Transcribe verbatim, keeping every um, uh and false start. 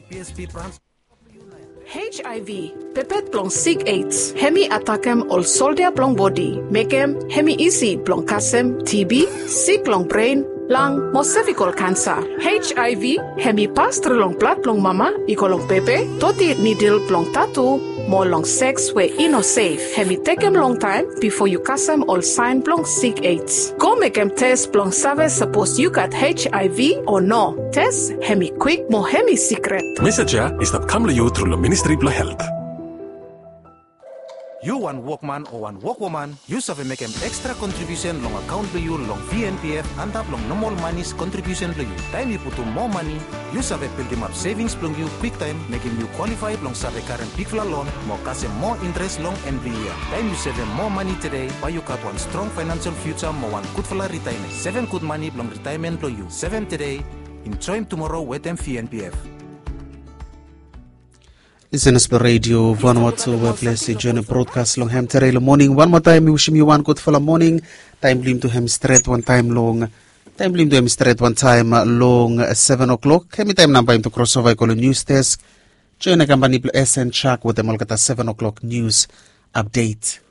P S P branch. H I V, pepet blong sik AIDS, hemi atakem ol soldia blong bodi, mekem hemi isi blong kasem T B, sik long bren, lang mo sevikol kansa. H I V hemi pas tru long blad blong mama i go long pepe, doti nidil blong tatu, mo long seks we i no sef. Hemi tekem longtaem bifo yu kasem ol saen blong sik AIDS. Go mekem tes blong save sapos yu gat H I V o no. Tes hemi kwik mo hemi sikret. Mesej ya i stap kam long yu tru long Ministri blong Helt. Yu wan wokman o wan wokwoman, yu save mekem ekstra kontribiusen long akaon blong yu long V N P F antap long nomol mani kontribiusen blong yu. Taem yu putum moa mani, yu save bildimap sevings blong yu kwiktaem, mekem yu kwalifae blong save karem bigfala lon mo kasem moa intres long en blong yia. Taem yu sevem moa mani tede, bae yu gat wan strong faenansel fiuja mo wan gudfala ritaemen. Sevem gud mani blong ritaemen blong yu. Sevem tede, enjoem tumoro wetem V N P F. Lisenas blong Redio Vanuatu, we ples i joenem brodkas long hem tede long moning. Wan moa taem mi wisim yu wan gudfala moning. Taem blong yumi tu hem i stret wantaem long taem blong yumi tu hem i stret wantaem long seven o'clock. Hemi taem nao bae yumi tu krosova i go long nius desk. Joen na kampani blong S N Chak wetem olgeta seven o'clock nius apdet.